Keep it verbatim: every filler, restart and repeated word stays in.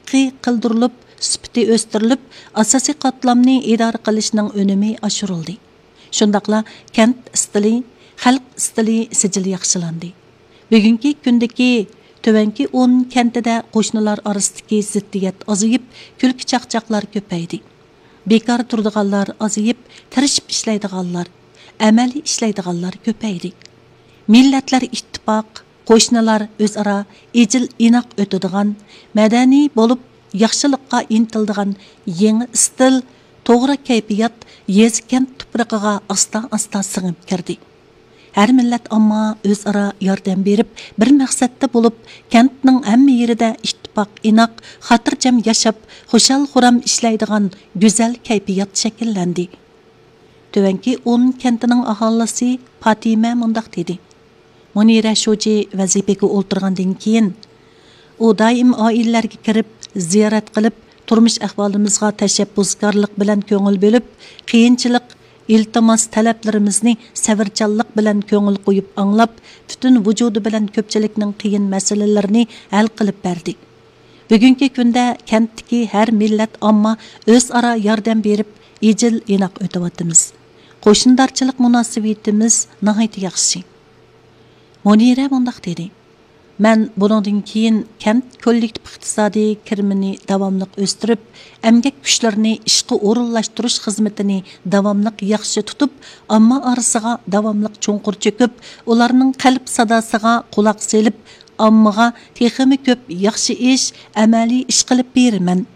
ئىشقى قىلدۇرۇلۇپ، سۈپىتى ئۆستۈرۈلۈپ، ئاساسىي قاتلامنى ئىدارە قىلىشنىڭ ئۈنۈمى ئاشۇرۇلدى. شۇنداقلا كەنت ئىستىلى، خەلق ئىستىلى سىجىل ياخشىلاندى. بۈگۈنكى كۈندىكى تۆۋەنكى ئون كەنتىدە قوشنىلار ئارىسىدىكى زىددىيەت ئازىيىپ، كۈلكە چاقچاقلار كۆپەيدى. بىكار تۇرىدىغانلار ئازىيىپ، تىرىشىپ ئىشلەيدىغانلار، ئەمەلىي ئىشلەيدىغانلار كۆپەيدى. مىللەتلەر ئىتتىپاق، قوشنىلار ئۆزئارا ئىجىل ئىناق ئۆتىدىغان، مەدەنىي بولۇپ ياخشىلىققا ئىنتىلىدىغان يېڭى ئىستىل، توغرا كەيپىيات يېزا كەنت تۇپرىقىغا ئاستا ئاستا سىڭىپ كىردى. ھەر مىللەت ئامما ئۆزئارا ياردەم بېرىپ، بىر مەقسەتتە بولۇپ، كەنتنىڭ ھەممە يېرىدە ئىتتىپاق ئىناق، خاتىرجەم ياشاپ، خۇشال خۇرام ئىشلەيدىغان گۈزەل كەيپىيات شەكىللەندى. تۆۋەنكى ئون كەنتىنىڭ ئاھالىسى پاتىمە مۇنداق دېدى: مۇنىرە شۇجى ۋەزىپىگە ئولتۇرغاندىن كېيىن، ئۇ دائىم ئائىلىلەرگە كىرىپ، زىيارەت قىلىپ، تۇرمۇش ئەھۋالىمىزغا تەشەببۇسكارلىق بىلەن كۆڭۈل بۆلۈپ، قىيىنچىلىق، ئىلتىماس، تەلەپلىرىمىزنى سەۋرچانلىق بىلەن كۆڭۈل قويۇپ ئاڭلاپ، پۈتۈن ۋۇجۇدى بىلەن كۆپچىلىكنىڭ قىيىن مەسىلىلىرىنى ھەل قىلىپ بەردى. بۈگۈنكى كۈندە كەنتتىكى ھەر مىللەت ئامما ئۆزئارا ياردەم بېرىپ، ئىجىل ئىناق ئۆتۈۋاتىمىز. قوشنىدارچىلىق مۇناسىۋىتىمىز ناھايىتى ياخشى. مۇنىرە مۇنداق دېدى: مەن بۇنىڭدىن كېيىن كەنت كوللېكتىپ ئىقتىسادىي كىرىمىنى داۋاملىق ئۆستۈرۈپ، ئەمگەك كۈچلىرىنى ئىشقا ئورۇنلاشتۇرۇش خىزمىتىنى داۋاملىق ياخشى تۇتۇپ، ئامما ئارىسىغا داۋاملىق چوڭقۇر چۆكۈپ، ئۇلارنىڭ قەلب ساداسىغا قۇلاق سېلىپ، ئاممىغا تېخىمۇ كۆپ ياخشى ئىش، ئەمەلىي ئىش قىلىپ بېرىمەن.